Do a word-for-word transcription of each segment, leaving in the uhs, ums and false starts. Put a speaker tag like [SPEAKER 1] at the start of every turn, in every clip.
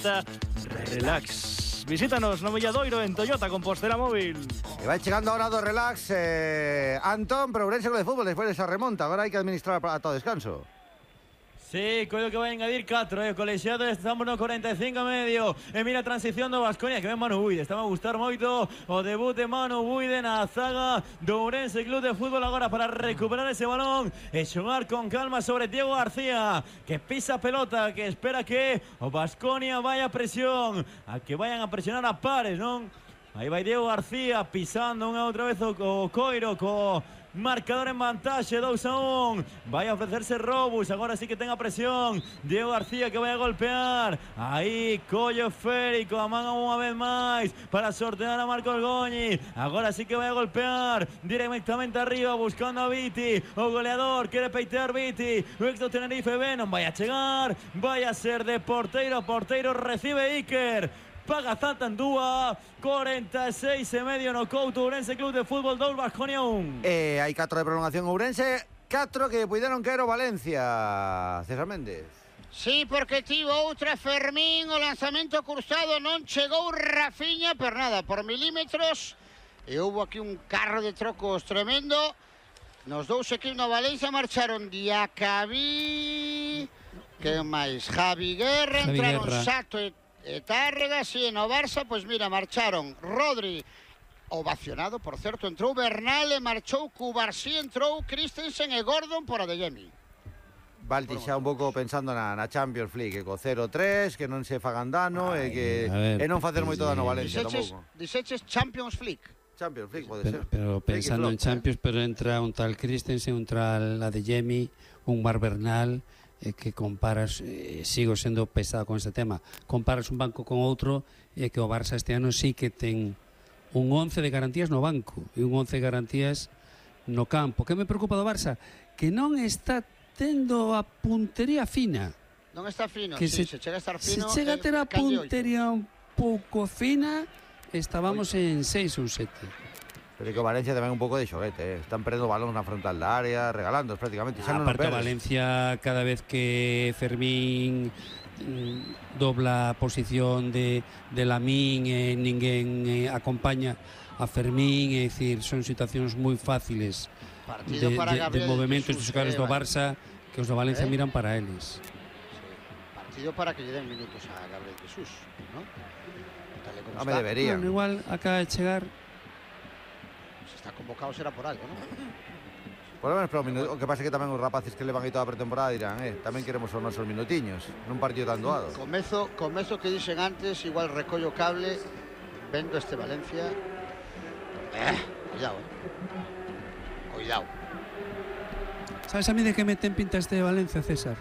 [SPEAKER 1] Toyota Relax. Visítanos no Villadoiro en Toyota Compostela Móvil.
[SPEAKER 2] Y va llegando ahora dos Relax. Eh, Antón, pero Ourense de fútbol después de esa remonta. Ahora hay que administrar para todo descanso.
[SPEAKER 3] Sí, creo que vai engadir catro, eh, colexiado, estamos no cuarenta y cinco e medio. E mira a transición do Baskonia, que ven Manu Buide. Estaba a gustar moito o debut de Manu Buide na zaga do Ourense Club de Fútbol agora para recuperar ese balón e xogar con calma sobre Diego García, que pisa a pelota, que espera que o Baskonia vaya a presión, a que vayan a presionar a pares, non? Aí vai Diego García pisando unha outra vez o, o Coiro, co marcador en vantaxe, dos a un. Vai a ofrecerse Robus, agora sí que tenga presión. Diego García que vai a golpear. Aí, collo esférico, amaga unha vez máis para sortear a Marcos Goñi. Agora sí que vai a golpear directamente arriba, buscando a Viti. O goleador, quere peitear Viti. O ex do Tenerife B, non vai a chegar. Vai a ser de porteiro, porteiro recibe Iker. Paga Zantandúa, cuarenta y seis e medio no Couto, Ourense Club de Fútbol dos, Baskonia un.
[SPEAKER 2] Eh, hai catro de prolongación Ourense, catro que puderon caer o Valencia. César Méndez.
[SPEAKER 4] Sí, porque tivo outra Fermín, o lanzamento cruzado, non chegou Rafiña, pero nada, por milímetros. E houve aquí un carro de trocos tremendo. Nos dous equipos no Valencia marcharon Diacabí, que máis, Javi Guerra,
[SPEAKER 5] Javi
[SPEAKER 4] entraron
[SPEAKER 5] Guerra.
[SPEAKER 4] Sato e E Tárrega, sí, no Barça, pois mira, marcharon Rodri, ovacionado, por certo, entrou Bernal e marchou Cubarsí, entrou Christensen e Gordon por Adeyemi.
[SPEAKER 2] Valti xa un pouco pensando na, na Champions League, que co cero tres, que non se fagan dano e que
[SPEAKER 5] ver,
[SPEAKER 2] e non facer moito dano a Valencia
[SPEAKER 4] Diseches,
[SPEAKER 2] tampouco.
[SPEAKER 4] diseches Champions League.
[SPEAKER 2] Champions League pode
[SPEAKER 5] Pero,
[SPEAKER 2] ser.
[SPEAKER 5] pero pensando en Champions, pero entra un tal Christensen, un tal Adeyemi, un Mar Bernal, eh, que comparas, eh, sigo sendo pesado con este tema, comparas un banco con outro, e eh, que o Barça este ano sí que ten un once de garantías no banco e un once de garantías no campo. Que me preocupa do Barça? Que non está tendo a puntería fina.
[SPEAKER 4] Non está fino,
[SPEAKER 5] Que
[SPEAKER 4] sí,
[SPEAKER 5] se,
[SPEAKER 4] se chega a estar
[SPEAKER 5] se
[SPEAKER 4] fino.
[SPEAKER 5] chega a ter a
[SPEAKER 4] eh, calle oito.
[SPEAKER 5] puntería un pouco fina, estábamos en seis ou sete.
[SPEAKER 2] Pero que o Valencia tamén un pouco de xoguete, eh. Están perdendo balóns na frontal da área, regalando prácticamente. Xa non
[SPEAKER 5] Aparte,
[SPEAKER 2] perdes.
[SPEAKER 5] Valencia, cada vez que Fermín mm, dobla a posición de, de Lamín e eh, ninguén eh, acompaña a Fermín, é dicir, son situacións moi fáciles de,
[SPEAKER 4] Partido para
[SPEAKER 5] de, de
[SPEAKER 4] Gabriel
[SPEAKER 5] movimentos
[SPEAKER 4] Jesús,
[SPEAKER 5] dos xogadores
[SPEAKER 4] eh,
[SPEAKER 5] do
[SPEAKER 4] vale.
[SPEAKER 5] Barça, que os do Valencia
[SPEAKER 4] Eh?
[SPEAKER 5] miran para eles.
[SPEAKER 4] Sí, partido para que lle den minutos a Gabriel Jesús, ¿no? Tal e como
[SPEAKER 2] Home,
[SPEAKER 4] está.
[SPEAKER 2] deberían.
[SPEAKER 5] Bueno, igual acaba de chegar.
[SPEAKER 4] Se está convocado será por algo, ¿no?
[SPEAKER 2] Por lo menos para un minuto. O que pasa é que tamén os rapaces que levan aí toda a pretemporada dirán, eh, tamén queremos os nosos minutiños nun partido tan doado.
[SPEAKER 4] Comezo, comezo que dixen antes, igual recollo cable, vendo este Valencia. Eh, cuidado, eh. Cuidado.
[SPEAKER 5] Sabes a mí de que me ten pinta este de Valencia, César?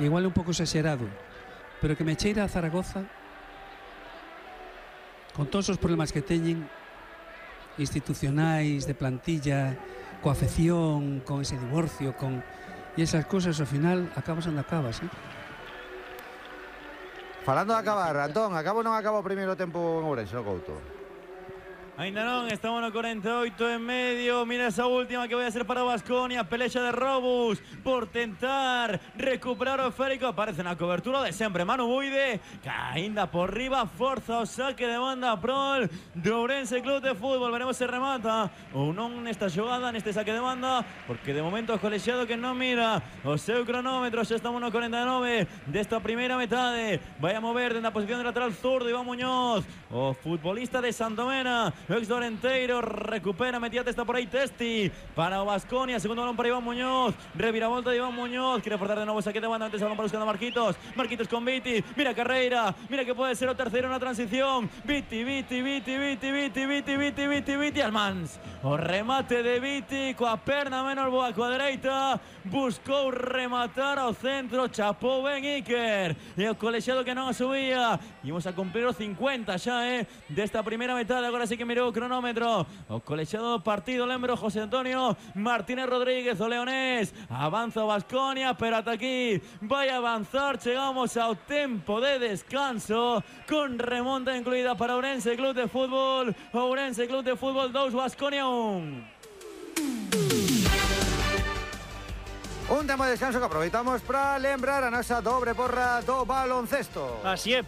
[SPEAKER 5] Igual un pouco exagerado, pero que me cheira a Zaragoza con todos os problemas que teñen institucionais, de plantilla, coa afección, con ese divorcio, con e esas cousas ao final acabas onde acabas, eh?
[SPEAKER 2] Falando de acabar, Antón, acabo ou non acabo o primeiro tempo en Ourense, no Couto?
[SPEAKER 3] Ainda non, estamos no cuarenta e oito e medio. Mira esa última que vai a ser para Baskonia. Pelexa de Robus por tentar recuperar o esférico. Aparece na cobertura de sempre Manu Buide, que ainda por riba forza o saque de banda prol do Ourense Club de Fútbol. Veremos se remata ou non nesta xogada, neste saque de banda, porque de momento o colexiado que non mira o seu cronómetro. Xa estamos no cuarenta e nove desta primeira metade. Vai a mover dentro da posición de lateral zurdo Iván Muñoz, o futbolista de Santomena, ex Dorenteiro, recupera, metía testa por aí Testi para o Baskonia, segundo balón para Iván Muñoz, reviravolta de Iván Muñoz, quiere forzar de novo saque de banda, antes el balón para buscando a Marquitos, Marquitos con Viti, mira Carreira, mira que puede ser o terceiro na transición, Viti, Viti, Viti, Viti, Viti, Viti, Viti, Viti, Viti, Almans, o remate de Viti, coa perna menos boa coa dereita, buscou rematar ao centro, chapou ben Iker, e o colexiado que non a subía, imos a cumprir os cincuenta xa, eh, desta primeira metade, agora sí que mirou o cronómetro, o colexiado do partido, lembro, José Antonio Martínez Rodríguez, o leonés, avanza o Baskonia, pero ata aquí vai a avanzar, chegamos ao tempo de descanso, con remonta incluída para Ourense Club de Fútbol, Ourense Club de Fútbol dos, Baskonia un.
[SPEAKER 2] Un tempo de descanso que aproveitamos para lembrar a nosa dobre porra do baloncesto.
[SPEAKER 1] Así é,